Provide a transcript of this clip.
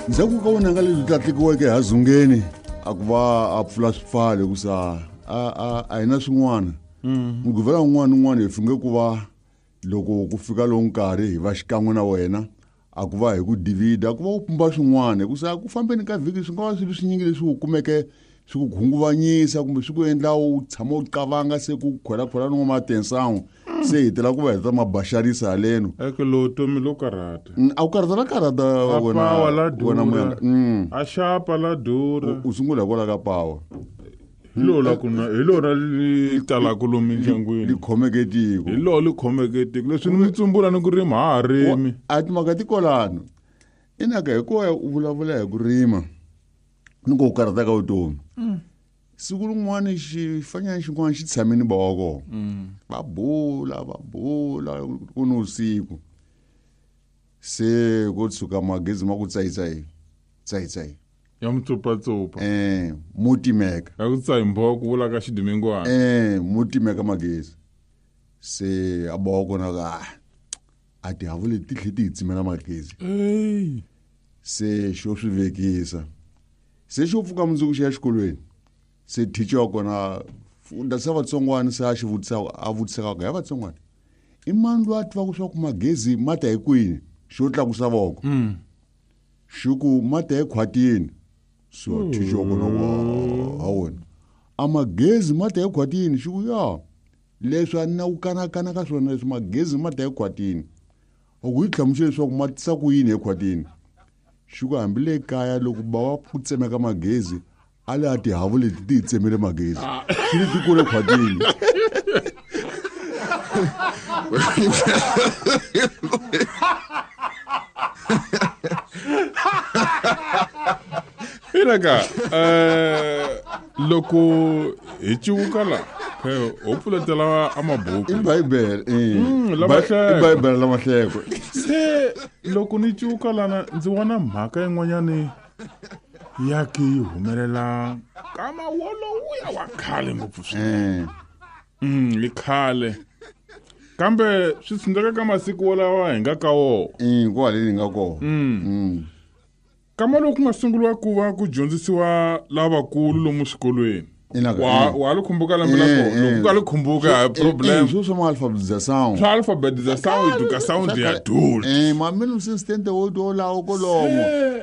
Ndzhaku ka vunanga lebyi tlatlikiweke ha zungeni a ku va a pfula swipfalo hikusa a hi na swin'wana. Mugqivela wun'wana ni wun'wana hi funge ku va loko ku fika lowu nkarhi hi va xikan'we na wena, a ku va hi ku divida, a ku va u pumba swin'wana, hikusa ku fambeni ka vhiki swi nga va swilo swinyingi leswi u kumeke swi ku khunguvanyisa kumbe swi ku endla u tshama u qavanga, se ku khwelakhwela no matensan'we, se hi tela ku va heta mabaxarisa haleno. Eke lo tomi lo karhata. A wu karhata la karhata. A wena. Pawa la Wena durha. Muyanga. A xapa la durha. U sungula hikwalaho ka pawa. Hi lona ku na hi lona li talaka lomu mindyangwini. Li khomeke tiko. Hi lona li khomeke tiko, leswi ni mi tsumbula ni ku rima ha ha rimi. A timhaka ti kolano inaka hikuva u vulavula hi ku rima ni ku karhata ka vutomi. Siku rin'wana xifanyana xin'wana xi tshame ni bawa kona, va bula, va bula ku ni vusiku, se ko tshuka magezi ma ku tsayitsayi tsayitsayi. Ya mutsupatsupa. Mo timeka. Ya ku tsayi mbho ku vula ka xidimingwana. Mo timeka magezi, se a bawa kona ka a tihavu leti ti tlhe ti hi tsimela magezi. Ey. Se xo swi vekisa, se xo pfuka mundzuku xi ya xikolweni, se thicha wa kona funda se vatsongwana, se a xi vutisa, a vutisaka ku ya vatsongwana, i mani loyi a tivaka swa ku magezi ma ta hi kwini? Xo tlakusa voko. Xi ku ma ta ekhwatini. So thicha wa kona ku ha wena, a magezi ma ta ekhwatini? Xi ku ya, leswi a ni na ku kanakana ka swona, leswi magezi ma ta ekhwatini. A ku yi hlamusela leswaku ma tisa ku yini ekhwatini. Xi ku hambi le kaya loko ba wa ku tsemeka magezi, a le a tihavu leti ti hi tsemele magezi, xi li ti kule khwatini. Ilaka loko hi civuka la ho pfuletela a mabuku. I bibele. Lamahleko. I bibele lamahleko. Se loko ni civuka lana ndzi vona mhaka yin'wanyani ya ke yi humelela kama wolowuya wa khale ngopfu swinene. Hi khale, kambe swi tshundeka ka masiku wolawa hi nga ka wona. Kwaleni hi nga kona. Kama loku nga sunguriwa ku va ku dyondzisiwa lavakulu lomu swikolweni. Inaka, Wa li khumbuka lembe la kona? Loko u nga li khumbuka, a problem. Swo swa ma-alphabet Swa alphabet za sound, eduka sound ya dula. Ma mina usistente wo to lawo kolomo. Se